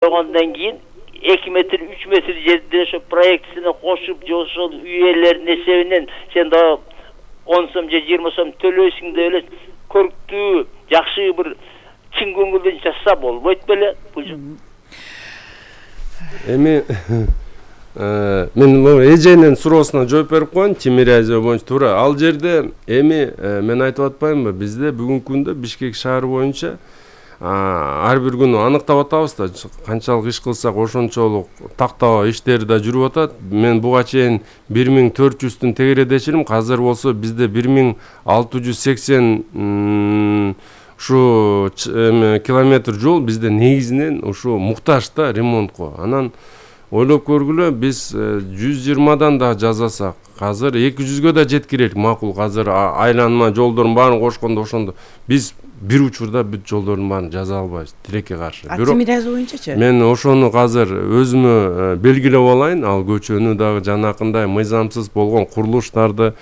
койгондон кийин 2 метр 3 метр жерде ошо проектисине кошуп же ошол үй ээлеринин эсебинен сен да 10 сом же 20 сом төлөйсүң деп эле көрктүү жакшы бир чын көңүлдөн жасаса болбойт беле бул. Эми мен эженин суроосуна жооп берип коеюн, Чимире айза боюнча туура. Ал жерде эми мен айтып атпаймынбы, бизде бүгүнкү күндө Бишкек шаары боюнча ар бир күнү аныктап атабыз да, канчалык иш кылсак ошончолук тактоо иштери да жүрүп атат. Мен буга чейин 1400-тün тегередечилим, азыр болсо бизде 1680 ушу километр жол бизде негизинен ушу муктаж да ремонтко. Анан ойлоп көргүлө, биз 120дан да жасасак, азыр 200гө да жеткирелик макул. Азыр айланма жолдордун баарын кошкондо ошондо биз бир учурда бүт жолдордун баарын жаза албайбыз, тилекке каршы. Чимире боюнчачы? Мен ошону азыр өзүмө белгилеп алайын, ал көчөнү дагы жанакындай мыйзамсыз болгон курулуштарды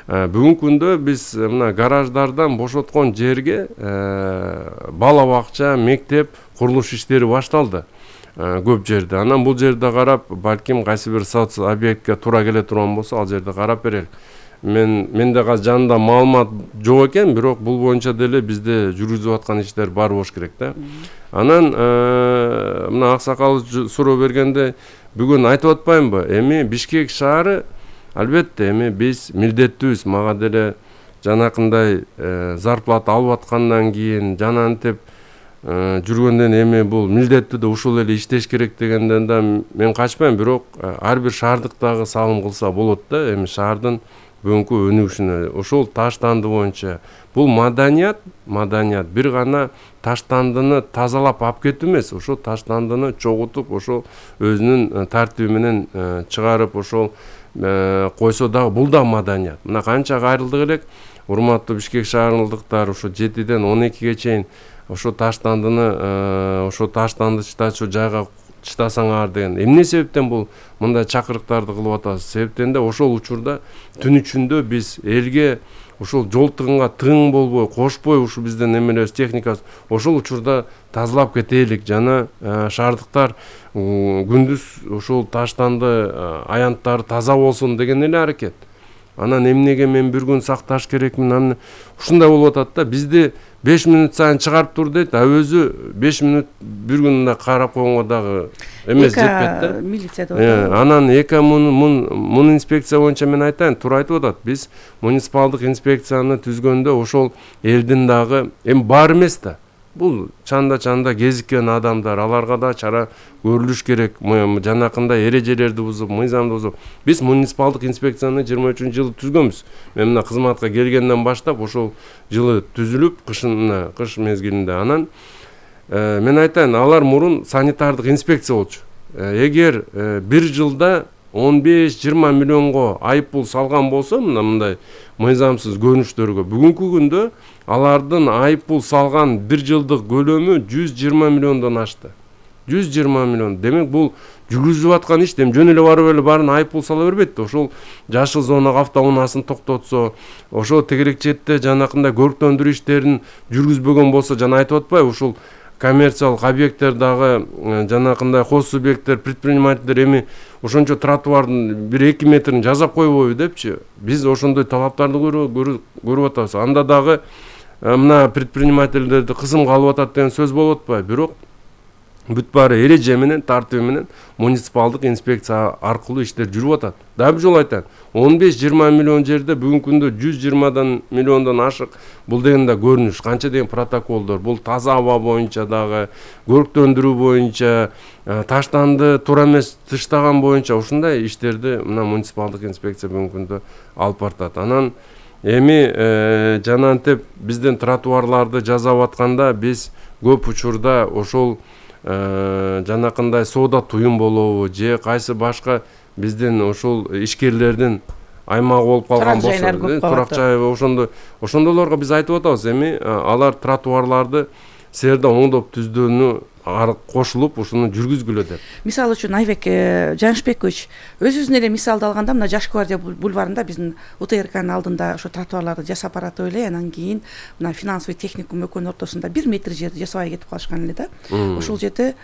бүгүнкү күндө биз мына гараждардан бошоткон жерге бала бакча, мектеп курулуш иштери башталды көп жерде. Анан бул жерде карап, балким кайсы бир соц объектке туура келе турган болсо, ал жерде карап берелик. Менде азыр жанында маалымат жок экен, бирок бул боюнча деле бизде жүргүзүп аткан иштер бар болуш керек да. Анан мына аксакал суроо бергенде бүгүн айтып атпаймынбы? Эми Бишкек шаары албетте эми биз милдеттүүбүз, мага деле жанакындай зарплата алып аткандан кийин жанантип жүргөндөн эми бул милдеттүү да ушул эле иштеш керек дегенден да мен качпайм, бирок ар бир шаардыктагы салым кылса болот да. Эми шаардын бүгүнкү өнүгүшүнө ошол таштанды боюнча бул маданият бир гана таштандыны тазалап алып кетүү эмес, ошол таштандыны чогултуп, ошол өзүнүн тартиби менен чыгарып ошол койсо дагы бул да маданият. Мына канча кайрылдык элек, урматтуу Бишкек шаарындыктар, ошо 7ден 12ге чейин ошо таштандыны чытачу жайга чытасаңар деген. Эмне себептен бул мындай чакырыктарды кылып атабыз? Себептен да ошол учурда түн ичинде биз элге ошол жол тыгынга тыгын болбой, кошпой ушу бизден эмелебиз техникасы ошол учурда тазалап кетелик. Жана шаардыктар күндүз ошол таштанды аянттары таза болсун деген эле аракет. Анан эмнеге мен бир күн сакташ керекмин? Ушундай болуп атат да. Бизди 5 мүнөт сайын чыгарып тур дейт, өзү 5 мүнөт бир күндө карап койгонго дагы эмес жетпейт да. Милиция деп. Анан мун инспекция боюнча мен айтайын, туура айтып атат. Биз муниципалдык инспекцияны түзгөндө ошол элдин дагы эми бар эмес да. Бул чанда кезиккен адамдар, аларга да чара көрүлүш керек. Жанакындай эрежелерди бузуп, мыйзамды бузуп. Биз муниципалдык инспекцияны 23-жылы түзгөнбүз. Мен мына кызматка келгенден баштап ошол жылы түзүлүп, кыш мезгилинде. Анан мен айтайын, алар мурун санитардык инспекция болчу. Эгер бир жылда 15-20 миллионго айыппул салган болсо, мындай мыйзамсыз көрүнүштөргө, бүгүнкү күндө алардын айыппул салган бир жылдык көлөмү 120 миллиондон ашты. 120 миллион. Демек бул жүргүзүп аткан иш, жөн эле барып эле баарын айыппул сала бербейт да. Ошол жашыл зонага автоунаасын токтотсо, ошол тегерек четте жанакындай көрктөндүрүү иштерин жүргүзбөгөн болсо, жана айтып атпайбы, ушул коммерциялык объекттер дагы жанакындай хос субъекттер, предпринимательдер эми ошончо тротуардын 1-2 метрин жасап койбойбу депчи. Биз ошондой талаптарды көрүп атабыз. Анда дагы мына предпринимательдерди кысымга алып атат деген сөз болуп атпайбы? Бирок бүт баары эреже менен, тартиби менен муниципалдык инспекция аркылуу иштер жүрүп атат. Дагы бир жолу айтайын, 15-20 миллион жерде бүгүнкү күндө 120 миллиондон ашык. Бул деген да көрүнүш, канча деген протоколдор. Бул таза аба боюнча дагы, көрктөндүрүү боюнча, таштанды туура эмес тыштаган боюнча ушундай иштерди мына муниципалдык инспекция бүгүнкү күндө алып бартат. Анан эми жанантип бизден тротуарларды жасап атканда биз көп учурда ошол жанакындай соода туюм болобу же кайсы башка бизден ошол ишкерлердин аймагы болуп калган болсо, турак жай ошондойлорго биз айтып атабыз. Эми алар тротуарларды силерде оңдоп түздүүнү кошулуп ушуну жүргүзгүлө деп. Мисалы үчүн Айбек Жанышбекович өзүбүздүн эле мисалды алганда, мына Жаш гвардия бульварында биздин УТРКнын алдында ошо тротуарларды жасап баратып эле, анан кийин мына финансовый техникум экөөнүн ортосунда 1 метр жерди жасабай кетип калышкан эле да. Ошол жерде